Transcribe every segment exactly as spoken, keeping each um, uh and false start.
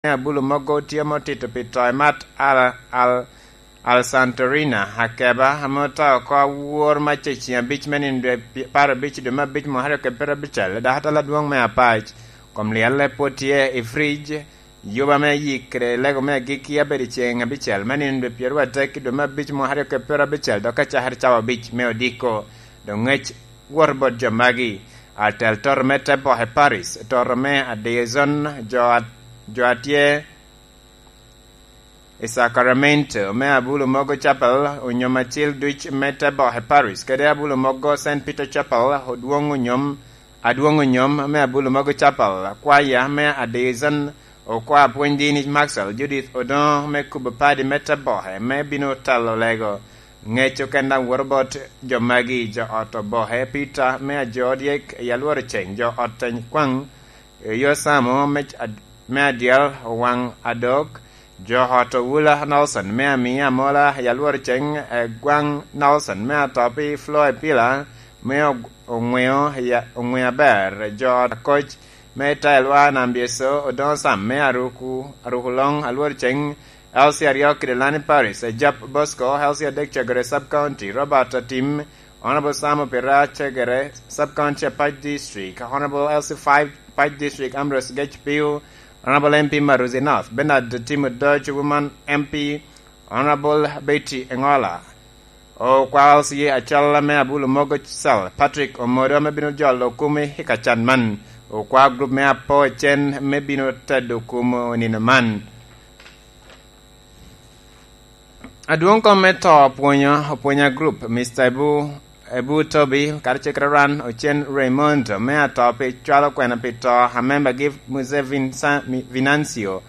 me abulo mogo tye ame otito pi to i mat Al, Al, Al Santorina, akeba ame oto oko awor mac i ceŋ abic me nino dwe pi-, apar abic i dwe me abic mwaka aryo kede pyerabicel, dok atala adwoŋ me apac. Kom lyalle pwod tye i frij, yuba me yik kede lego me agikki abedo i ceŋ abicel me nino dwe pyeraryo adek i dwe me abic mwaka aryo kede pyerabicel, dok acakere cawa abic me odiko. Dok ŋec wot bot jo magi. Atel toto me te boke Paris, toto me Adeyezon, jo a-, jo a tye i Sacramento me abulo mogo Chapel, onyom acil duc me te boke Paris, kede abulo mogo Saint Peter Chapel, odwoŋ onyom, adwoŋ onyom me abulo mogo Chapel, kwaya me Adeyezon, okwa apwony dini Maxwell Judith Odongo me kubo padi me te boke me bino telo lego. Ŋec oken daŋ woto bot jo magi, jo ot oboke Peter me ajo dyek i alworo ceŋ, jo ot teny kwaŋ, Eyo Samo me ad-, me adyel owaŋ adok, jo ot Owula Nelson me amia amola i alwor ceŋ, eh, gwaŋ Nelson me atop i Floy Pila me og-, oŋweo ya-, oŋweo aber, jo ot Akoc me Tailwa Nambieso, Odongo Sam me Aruku, Aruku Loŋ, alwor ceŋ, Elsie aryo kede Lani Paris, eh, Jap Bosco, Elsie adek Cegere Sub County, Robert Atim, Honorable Sam Opira Cegere, Sub County Apac District, Honorable L C five Apac District Ambrose Gech Pio, Honorable M P Maruzi North, Bernard Timo Dodge, Woman M P, Honorable Betty Engola, Okwa L C acel me Abulu Mogo Cell, Patrick Omodo, ame bino jolo kumi i kacan man, Okwa group me Apo Cen, me bino tedo kumi onino man. Adwoŋ kom me to opwonyo, opwonya group, Mister Ebu, Ebu Tobi, karacel kede Ran Ocen Raymond, me ato pi cwalo kwena pi to a membagi Muse Vinsa-, Mi-, Vinancio.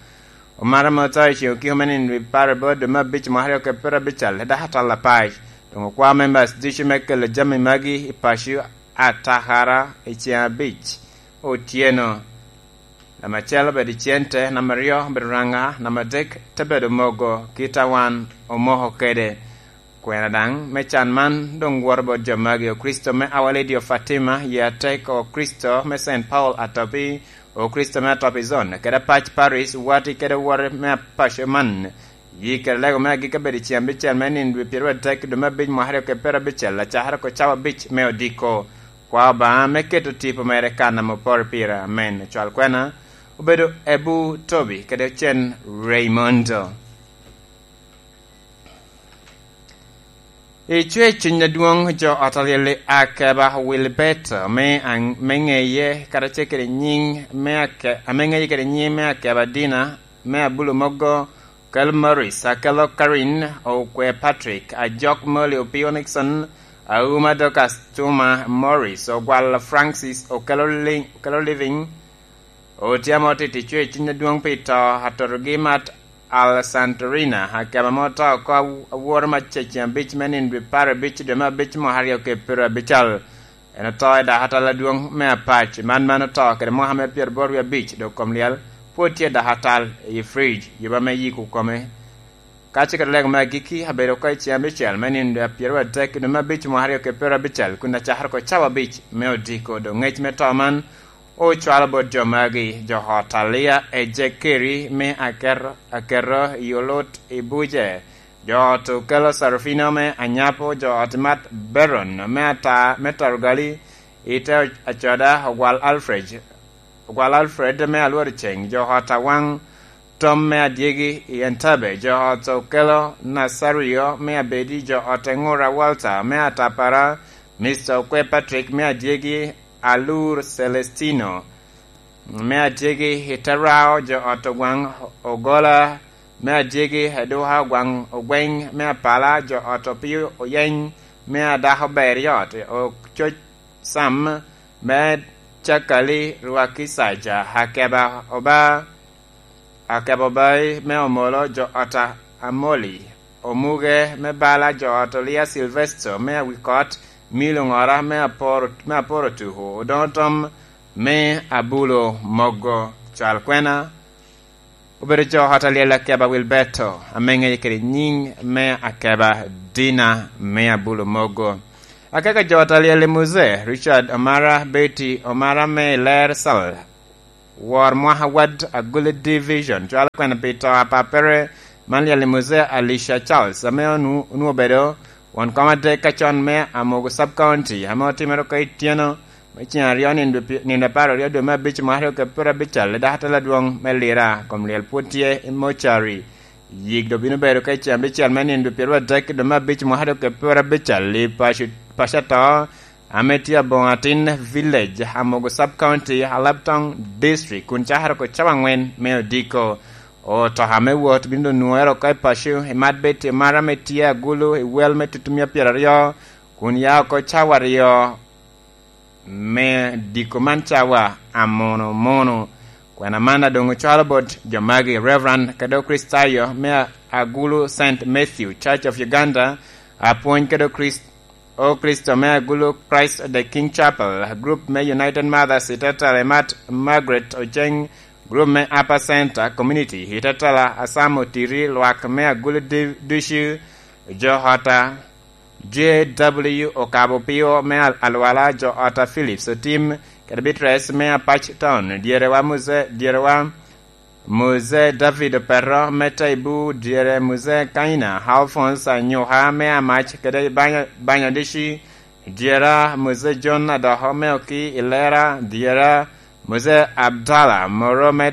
Omara me oto i ceŋ okiko me nino wi pare bot dwe me abic mwaka aryo kede pyerabicel, dok atol apac. Doŋ okwa members ducu me kelo jami magi i paco atakara i ceŋ abic otyeno. Namba acel obedo cente, namba aryo obedo ranga, namba adek te bedo mogo, kit a wan omoko kede. Kwena daŋ me can man doŋ woto bot jo magi, Okricito me Our Lady of Fatima, Yie Atek, Okricito me Saint Paul Atopi, Okricito me Atopi Zone, kede Apac Parish, wati kede wore me paco man. Yi kede lego me agikki abedo i ceŋ abicel me nino dwe pyeraryo adek dwe me abic mwaka aryo kede pyerabicel, acakere oko cawa abic me odiko. Kwa Obaŋa me keto tipo mere kan ame oporo pire. Amen. Ocwal kwena obedo Ebu Tobi kede Ocen Raymondo. Icwe cuny adwoŋ jo ot alyel i Akeba Wilberto me aŋ-, me ŋeye karacel kede nyiŋ me Ake-, ame ŋeye kede nyiŋ me Akeba Dina me Abulu Mogo, Kel Morris, Akelo Karin, Okwe Patrick, Ajok Molly Opio Nixon, Auma Dorcas Tuma Morris, Ogwal Francis, Okelo Li-, Okelo Living, Otyama otito icwe cuny adwoŋ pi to atotogi mat Al Santorina, Akeba ame oto oko aw-, aworo mac i ceŋ abic me nino dwe apar abic dwe me abic mwaka aryo kede pyerabicel. En oto i dakatal adwoŋ me Apac, man man oto kede mwaka me pyeraboro wie abic, dok kom lyel pwod tye i dakatal i frij, yuba me yiko kome. Ka ce kede lego me agikki, abedo oko i ceŋ abicel me nino dwe apyeradek i dwe me abic mwaka aryo kede pyerabicel, kun acakere oko cawa abic me odiko. Doŋ ŋec me to man ocwalo bot jo magi, jo ot Alia Ejekeri me Aker-, Akerro i Olot i Buje, jo ot Okelo Sarufino me Anyapo, jo ot Mat Beron me Ata-, me Tarugali, i te acoda Ogwal Alfred, Ogwal Alfred me Alwor Ceng, jo ot Awaŋ Tom me Adyegi i Entebbe, jo ot Okelo Nasario me Abedi, jo ot Eŋura Walter me Atapara, Mister Okwe Patrick me Adyegi, Alur Celestino me Adyegi i Terao, jo ot Ogwaŋ Ogola me Adyegi, Eduka Ogwaŋ Ogweny me Apala, jo ot Opio Oyeny me Adako Beriot, Ococ Sam me Cakali Rwaki Saja, Akeba Oba, Akeba Obai me Omolo, jo ot Amoli, Omuge me Bala, jo ot Olia Silvesto me Awikot, Milo Ŋora me Aporo, me Aporo Tuku, Odoŋo Tom me Abulo Mogo. Cwal kwena obedo jo ot alyel Akeba Wilberto, ame ŋeye kede nyiŋ me Akeba Dina me Abulo Mogo. Akaka jo ot alyel i Muse, Richard Omara, Betty Omara me Ler Sal, Wor mwaka wad Agulu Division, cwalo kwena pi to a pappere man lyel i Muzee Alicia Charles, ame onu-, onwoŋo obedo won kom adek ka con me Amogo Sub County, ame otimere oko i tyeno me ceŋ aryo nino pi-, nino apar aryo dwe me abic mwaka aryo kede pyera abic i dakatal adwoŋ me Lira, kom lyel pwod tye i mocari. Yik doŋ bino bedo ka i cen abicel me nino dwe pyeraryo adek dwe me abic mwaka aryo kede pyera abic i paco, paco ato, ame tye Aboŋo Atin Village, Amogo Sub County, Alabtong District, kun cakere oko cawa aŋwen me odiko. Otoka me wot bino doŋ nwoŋere oko i paco, i mat Betty Omara ame tye Agulu, i wel me tutumia pyeraryo, kun ya oko cawa aryo me diko man cawa amono mono. Kwena man a doŋ ocwalo bot jo magi, Reverend Kado Kristayo me Agulu Saint Matthew Church of Uganda, apwony Kado Krist-, o Kristo me Agulu Christ the King Chapel, group me United Mothers i Tetele, Mat Margaret Oceng, group me Upper Center Community i Tetele, Asamo Tiri, lwak me Agulu Di-, Ducu, jo ota, J W Okabo Pio me Al-, Alwala, jo ota Phillips Otim, kede Beatrice me Apac Town, dyerewa Muse, dyerewa Muse David Opero me Taibu, dyere Muse Kaina Alphonse Anyuka me Amac kede Banya-, Banyadici, dyera Muse John Adoko me Oki Ilera, dyera Muse Abdallah Moro me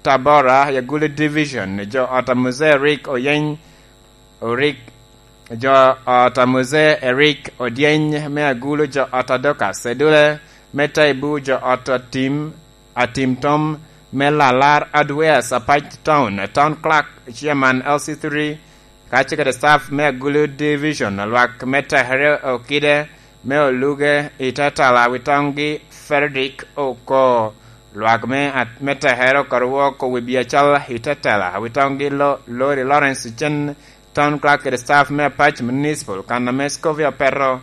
Tabora, Yagulu Division, jo ot a Muzee Eric Oyeny, Orik, jo ot a Muzee Eric Odyeny me Agulu, jo ot a Dorcas Edule me Taibu, jo ot a Tim, Atim Tom me Lalar Adwea, Sapac Town, Town Clerk, Chairman L C three, kacel kede staff me Agulu Division, lwak me Tekere Okide me Oluge i Tetela, Witoŋgi Frederick Oko, lwak me at-, me Tekere Okorwo Oko, wi biacal i Tetela, Witoŋgi Lo-, Lori Lawrence Ocen, Town Clerk kede staff me Apac Municipal, kan ame Scovia Opeto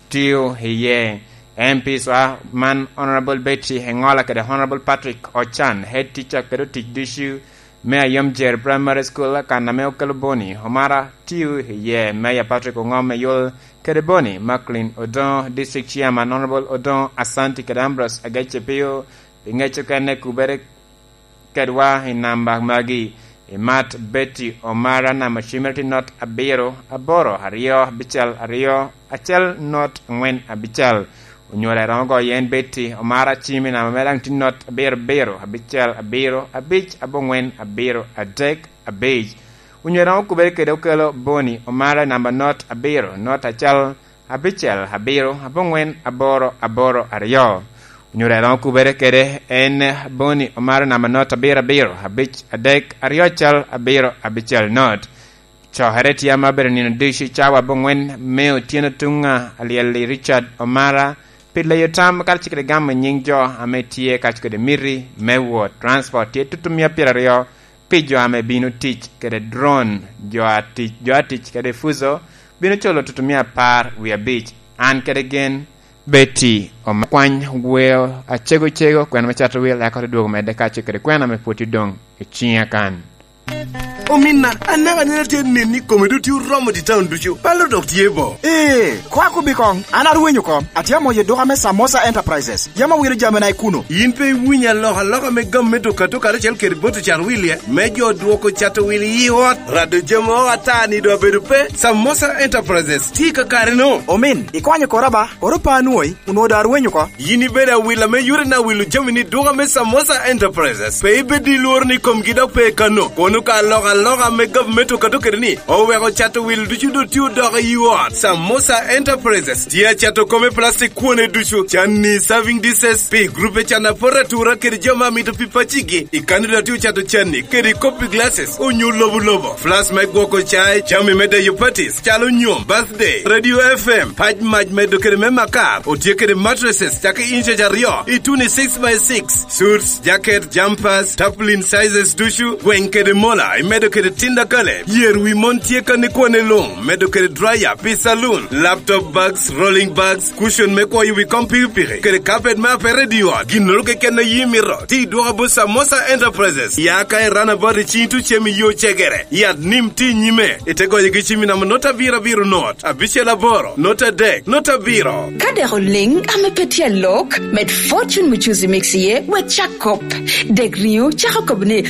tio iye. M Ps wa man Honorable Betty Engola kede Honorable Patrick Ochan, head teacher kede otic ducu me Ayom Jer Primary School, kan ame okelo Boni Omara tio iye, Mayor Patrick Ongom Eyol kede Boni Macklin Odongo, District Chairman Honorable Odongo Asanti kede Ambrose Agece Pio, pi ŋec okene kubere kedwa i namba magi. Imat Betty Omara namba cimere tye not abiro aboro aryo abicel aryo acel not angwen abicel. Onywale romo goyo en Betty Omara cim i namba mere daŋ tye not abiro abiro abicel abiro abic aboŋwen abiro adek abic. Onywale romo kubere kede okelo Boni Omara i namba not abiro not acel abicel abiro aboŋwen aboro aboro aryo. Onywale romo kubere kede en Boni Omara namba not abiro abiro abic adek aryo acel abiro abicel not. Cokere tye ame abedo nino ducu cawa aboŋwen me otyeno tuŋ alyel i Richard Omara pi leyo tam kacel kede gamo nyiŋ jo ame tye kacel kede miti me wot. Transport tye tutumia pyeraryo pi jo ame bino tic kede drone, jo a tic, jo a tic kede Fuso bino culo tutumia apar wie abic. An kede gen, Betty Omara, kwany weo acego cego, kwena me cato wil, eka te dwogo medde kacel kede kwena ame pwod tye doŋ i ciŋa kan. Ominna, anaka anena tye nen ni kome doŋ tye oromo i taun ducu, balo dok tye bo. Ee, kwako bi koŋ, an arwenyo oko, atye amoyo duka me Samosa Enterprises. Yam awilo jamina i kuno. Yin pe iwinyo alokaloka me gam me duka to karacel kede bot ocat wil-lie, me jo dwoko cato wil i ot? Rado jami o ata ni doŋ abedo pe. Samosa Enterprises tye i kakare-no. Omin, ikonyo kora ba, koro pe anwoyi, onwoŋo doŋ arwenyo oko. Yin ibedo awila me yore na wilo jami ni duka me Samosa Enterprises. Pe ibed i lworo ni komgi dok pe kano. Kono ka alokaloka me gavumenti okato kede ni, oweko cato wil ducu doŋ tye odoko i ot. Samosa Enterprises tye acato kome plastic kwone ducu, canni, serving dishes, pi grupe can apot atura kede jo ma mito pi pacigi. I kano dok tye ocato canni kede kopi glasses onyo lobo lobo. Flask me gwoko cai, jami me deyo parties, calo nyom, birthday, radio F M, pac mac medo kede me makar, otye kede mattresses, cake inches aryo, i two ni six by six, suits, jacket, jumpers, tarpaulin sizes ducu, gweng kede mola, imedo kede tinda kale, yer wi mon tye kan i kwane luŋ, medo kede dryer pi saloon, laptop bags, rolling bags, cushion me kwoyo wi kom pikipiki, kede carpet me apere i di ot. Ginnoro keken a yi mito, ti dwoko bot Samosa Enterprises. Ya ka i runabout i cing tucem i yo cegere, yat nim ti nyime, ite goyo gi cimi namo not abiro abiro not, abicel aboro, not adek, not abiro. Ka dek oliŋ ame pe tye alok, med Fortune Muchuzi Mix iye, wek cak kop. Dek riŋo cako kop ni,